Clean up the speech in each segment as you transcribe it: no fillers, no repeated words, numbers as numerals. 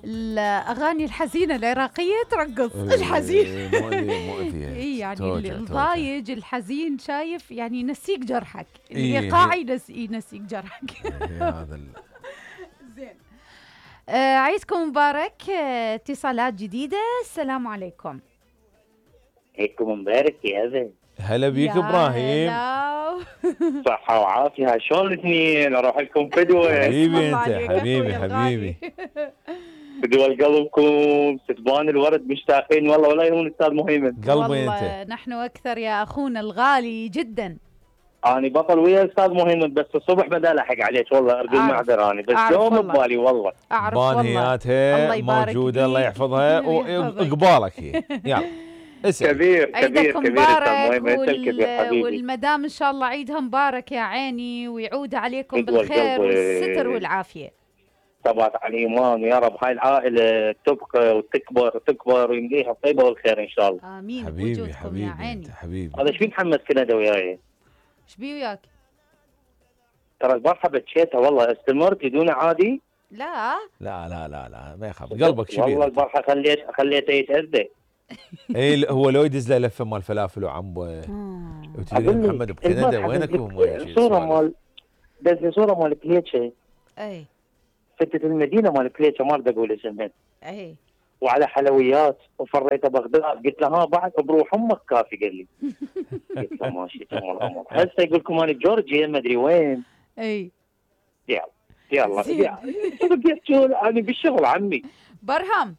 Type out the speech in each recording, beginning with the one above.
الاغاني الحزينه العراقيه ترقص الحزين. مؤذية. اي يعني الضايج الحزين شايف يعني ينسيك جرحك، الايقاعي ينسيك جرحك. هذا زين. عيدكم مبارك. اتصالات جديده. السلام عليكم. عيدكم مبارك يا هذا. هلا بيك ابراهيم. صحة وعافية. شلون الاثنين؟ اروح لكم فدوة. حبيبي انت حبيبي فدوة لقلبكم. ستبان الورد مشتاقين والله، ولا يهون استاذ مهيمن. قلبي انت. نحن اكثر يا اخونا الغالي جدا. اني بطل ويا استاذ مهيمن، بس الصبح بدا الحق عليك والله، ارجو المعذره اني بس يوم ببالي والله. اعرف والله. بانياتها موجوده الله يحفظها وقبالك هي. يلا اسأل. كبير مبارك والمدام ان شاء الله عيدها مبارك يا عيني، ويعود عليكم بالخير والستر والعافيه. طبعا على الايمان يا رب، هاي العائله تبقى وتكبر ويمليها الطيبه والخير ان شاء الله. امين. حبيبي يا عيني. حبيبي. هذا ايش في محمد كندا وياي؟ ايش بي وياك؟ ترى البارحه بتشيتها والله، استمرت بدون عادي. لا ما يخاف قلبك شبيه. والله البارحه خليته يتاذى. اي هو لو يدز له لفه مال فلافل وعنبه وتريد محمد بكندا وينكم؟ صوره مال كليتشه. اي فتت المدينه مال كليتشه، ما اريد اقول اسمها. اي وعلى حلويات وفريته بغداد. قلت له ها بعد بروح امك كافي. قال لي قلت له ماشي تمام الامر. هسه يقول لكم انا بجورجيا ما ادري وين. اي يلا انا بالشغل عمي. برهم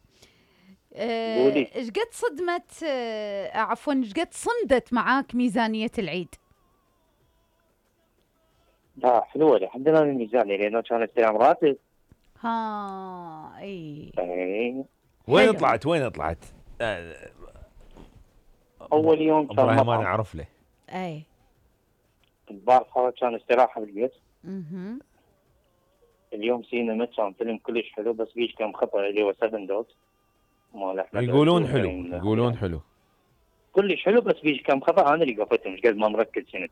ايش قد صدمت عفوا ايش قد صمدت معاك ميزانية العيد؟ لا حلوة لحد الان الميزانية، لانه كان استلام راتب. اي وين طلعت؟ اول يوم كان ابراهيم انا اعرف له. اي البارحة كان استراحة بالبيت. اليوم سينما كان فيلم كلش حلو، بس بيش كم خطأ اللي هو 7 دوت. يقولون حلو كلش حلو، بس بيش كم خطأ انا اللي قفته، مش قد ما مركز سنت.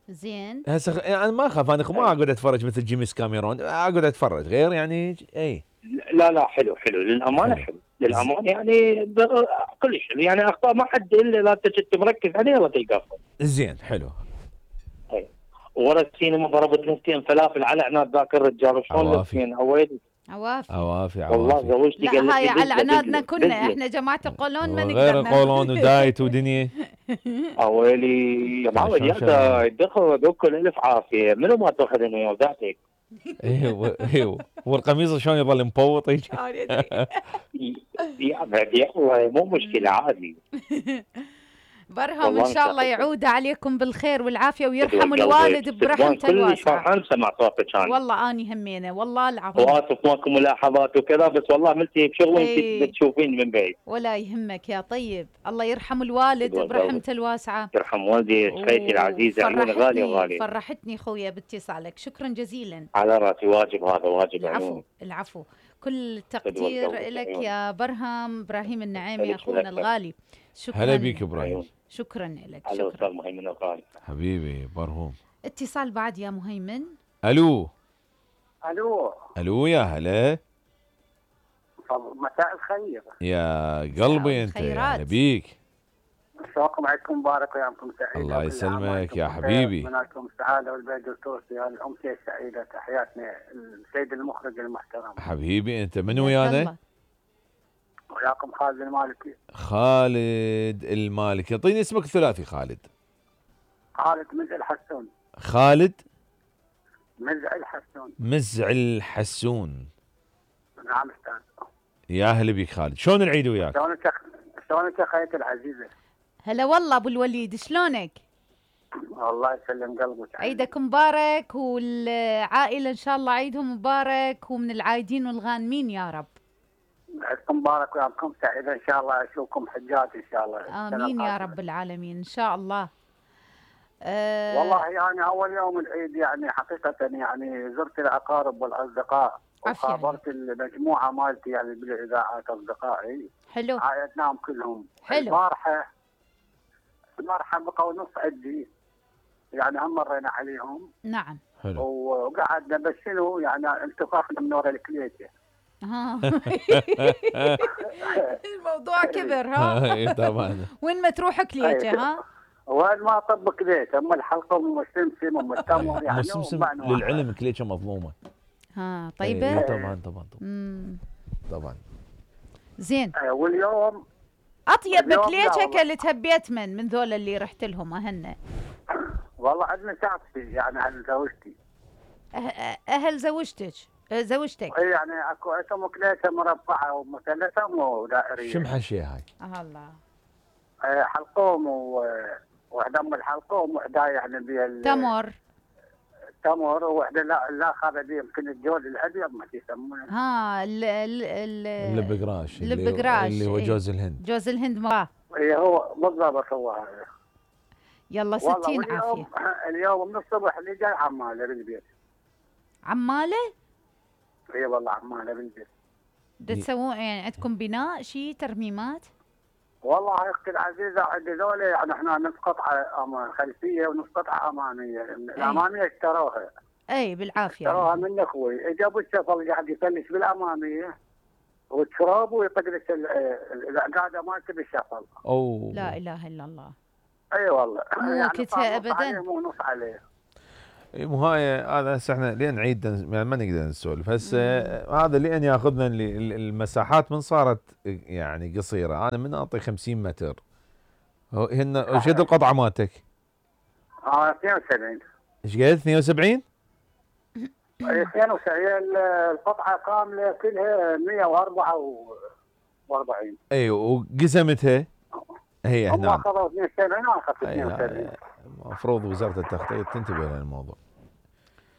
زين. هسه انا ما اخاف، انا ما اقعد اتفرج مثل جيمس كاميرون، اقعد اتفرج غير يعني. اي لا حلو للامانه حلو للامانه يعني كلش حلو يعني. اخطاء ما حد الا لا انت مركز عليه ولا تلقاه. زين حلو. اي ورا السينما ضربت نفتين فلافل على عناد ذاك الرجال. شلون نفتين عوافي والله زوجتي قالت لي لا هاي على عنادنا كنا احنا جماعه القولون ما نقدر غير القولون ودايت ودنيا. اويلي يا معود يا دخل دوكل الف عافيه. منو ما تاخذ انه يودعتك. ايوه والقميص شلون يظل مبوط هيك. يا والله مو مشكله عادي. برهم ان شاء الله يعود عليكم بالخير والعافيه ويرحم الوالد برحمته الواسعه. كل فرحان سمع صوتك انا. والله اني همينه والله العظيم. واسف ماكو ملاحظات وكذا، بس والله عملتي بشغل انت تشوفين من بعيد. ولا يهمك يا طيب، الله يرحم الوالد برحمته الواسعه. يرحم والدي خيتي العزيزه، عيوني غاليه وغاليه. فرحتني خويا باتصالك، شكرا جزيلا. على راسي، واجب هذا واجب. العفو كل التقدير لك يا برهم. ابراهيم النعيمي اخونا الغالي، شكرا. هلا بيك ابراهيم. شكرا لك. شكرا استاذ مهيمن الغالي حبيبي برهوم. اتصال بعد يا مهيمن. الو يا هلا. مساء الخير يا قلبي انت. يا بيك. شلونكم؟ عيدكم مبارك ويامكم سعيد. الله يسلمك يا حبيبي. منالكم السعاده والبيت التونسي. هذه الامسيه السعيده. تحياتنا السيد المخرج المحترم. حبيبي انت من ويانا؟ وياكم خالد المالكي. خالد المالكي، اعطيني اسمك الثلاثي. خالد مزع الحسون. خالد مزع الحسون. نعم استاذ. يا اهلا بك خالد. شلون العيد وياك؟ شلونك يا خيتي العزيزه؟ هلا والله ابو الوليد، شلونك؟ الله يسلم قلبك. عيدك مبارك والعائله ان شاء الله عيدهم مبارك، ومن العايدين والغانمين يا رب. عيدكم مبارك ويامكم سعيده ان شاء الله. اشوفكم حجات ان شاء الله. امين يا رب العالمين ان شاء الله. والله يعني اول يوم العيد يعني حقيقه يعني زرت الاقارب والاصدقاء وخابرت المجموعه مالتي يعني بالاذاعات اصدقائي. حلو. عايدناهم كلهم. حلو. البارحه بقوا نص عدي يعني هم مرينا عليهم. نعم. حلو. وقعدنا بس شنو يعني انتفاخنا من ورا الكليته. الموضوع كبر ها. اي طبعا. وين ما تروح كليته ها. وين ما طب كليته، ام الحلقه ام السمسم ام التمر يعني. السمسم للعلم كليته مظلومه. طيبه. طبعا. طبعا. زين. واليوم اطيب كليته كلتها بيتمن من ذول اللي رحت لهم اهن. والله عندنا شخصي يعني عند زوجتي. اهل زوجتك. اي يعني اكو اسمه كليته مربعه ومثلثه ودائريه. شو محشيه هاي؟ الله. حلقوم وحده ام الحلقوم وحده يعني بها تمر وحده الاخر دي يمكن الجوز الابيض ما يسمونه. البقراش اللي هو جوز الهند. جوز الهند مراه. اي هو بالضبط هو هذا. يلا 60 عافيه. اليوم من الصبح اللي جاي عماله بالبيت. عماله؟ اي والله عماله بالبيت. تسوون يعني عندكم بناء شيء ترميمات؟ والله اختي العزيزه عند ذولا يعني احنا نص قطعه خلفيه ونص قطعه اماميه، الاماميه اشتروها. اي بالعافيه. اشتروها من اخوي، جابوا الشفل قاعد يفلش بالاماميه والتراب ويطقلش القاعده مالته بالشفل. اوه لا اله الا الله. اي والله مو كتها ابدا. مو نص عليه. مو هاي هذا هسه احنا لين نعيد يعني ما نقدر نسولف هسه هذا لين ياخذنا المساحات من صارت يعني قصيره. انا من اعطي 50 متر هن ايش قد القطعه مالتك؟ 72. ايش قد 72؟ 72 القطعه كامله كلها 144. اي وقسمتها هي هنا. هم اخذوا 72 انا اخذت 72. المفروض وزاره التخطيط تنتبه للموضوع.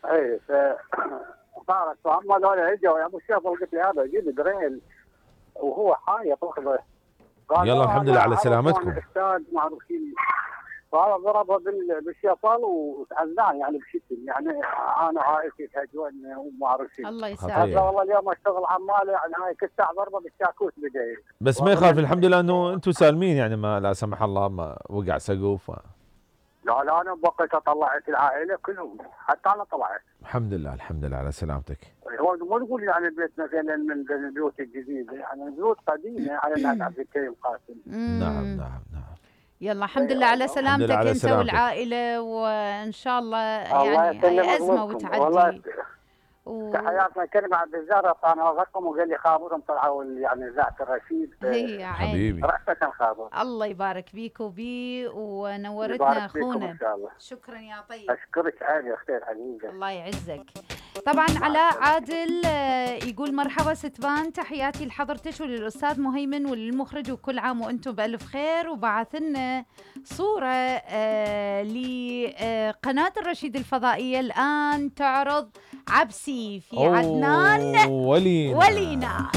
اي صارت هم هذول اجوا يا ابو الشيخ قلت لي هذا جيب دريل وهو حايط اخذه. يلا الحمد لله على سلامتكم. الاستاذ معروفين فهذا ضربه بالشفل وتعزاه يعني بشكل يعني انا عائلتي تهجوني وما اعرف شيء. الله يسعدك. والله اليوم اشتغل عماله يعني هاي كل ساعه ضربه بالشاكوش بدايه. بس ما يخالف الحمد لله انه انتم سالمين يعني ما لا سمح الله ما وقع سقوف. لا انا بقيت طلعت العائله كلهم حتى انا طلعت. الحمد لله على سلامتك. هو مو نقول يعني بيت مثلا من البيوت الجديده يعني بيوت قديمه على الناس عبد الكريم قاسم. نعم. يلا الحمد لله على سلامتك انت والعائله وان شاء الله يعني هاي ازمه وتعدي. تحياتنا كلمة عبد الزهرة انا رقم وقال لي خابرهم طلعوا يعني اذاعه الرشيد. هي يا حبيبي رأسك الخابر. الله يبارك بيك وبي ونورتنا اخونا. ان شاء الله. شكرا يا طيب. اشكرك عادي اختي العزيزه. الله يعزك. طبعا علاء عادل يقول مرحبا ستبان، تحياتي لحضرتك وللاستاذ مهيمن وللمخرج وكل عام وانتم بالف خير. وبعث لنا صوره لقناه الرشيد الفضائيه الان تعرض عبسي في عدنان ولينا.